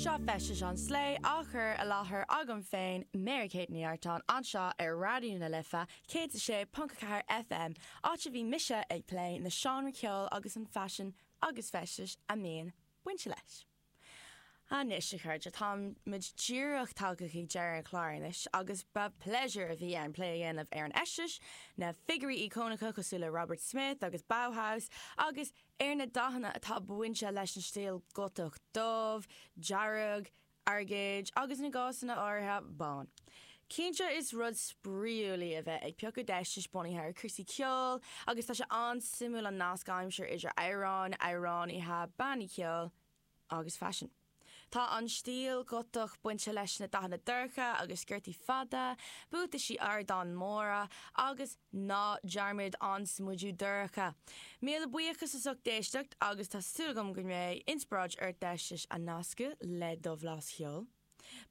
Seo Feistis an Slé á chur i láthair agam féin, Mary Kate Ní Artáin, anseo ar Raidió na Life 106.4 FM, áit a bhí mise ag plé na seánraí ceoil agus an faisean agus feistis a mbíonn bainte leis. Anois, a chairde, táimid díreach tagtha chuig deireadh an chláir anois agus ba pléisiúr a bhí ann plé a dhéanamh ar an fheisteas, na figiúirí íocónacha cosúil le Robert Smith agus Bauhaus agus ar na dathanna atá bainte leis an stíl Gotach dubh, dearg, airgid agus in gcásanna áirithe, bán. Cinnte is rud spraíúil í a bheith ag piocadh d'fheistis bunaithe ar chúrsaí ceoil agus tá sé an-suimiúil an nasc a aimsiú idir amhráin, amhránaithe, bannaí ceoil, agus faisean. Tá an stíl Ghotach bainte leis na dathanna dorcha agus sciortaí fada, buataisí ardáin móra agus, ná dearmad an smideadh dorcha! Míle buíochas as ucht éisteacht agus tá súil agam go mbeidh inspioráid ort d'fheistis a nascadh le do bhlas cheoil.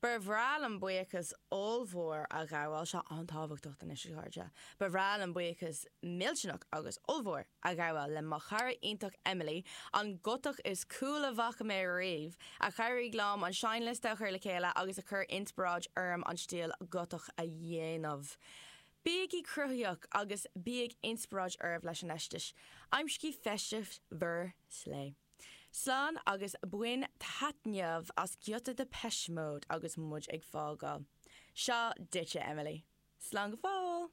Ba bhreá liom buíochas ollmhór a ghabháil, seo an-tábhachtach anois a chairde, ba bhreá liom buíochas millteanach agus ollmhór a ghabháil le mo chara iontach Emily, an Gotach is cool a bhfaca mé riamh, a chabhraigh liom an seinnliosta a chur le chéile agus a chuir inspioráid orm an stíl Gotach a dhéanamh. Bígí cruthaitheach agus bíodh inspioráid oraibh leis an fheisteas. Aimsígí feisteas bhur slé. Slán agus bain taitneamh as giota Depeche Mode agus muid ag fágáil. Seo duitse, Emily. Slán go fóill!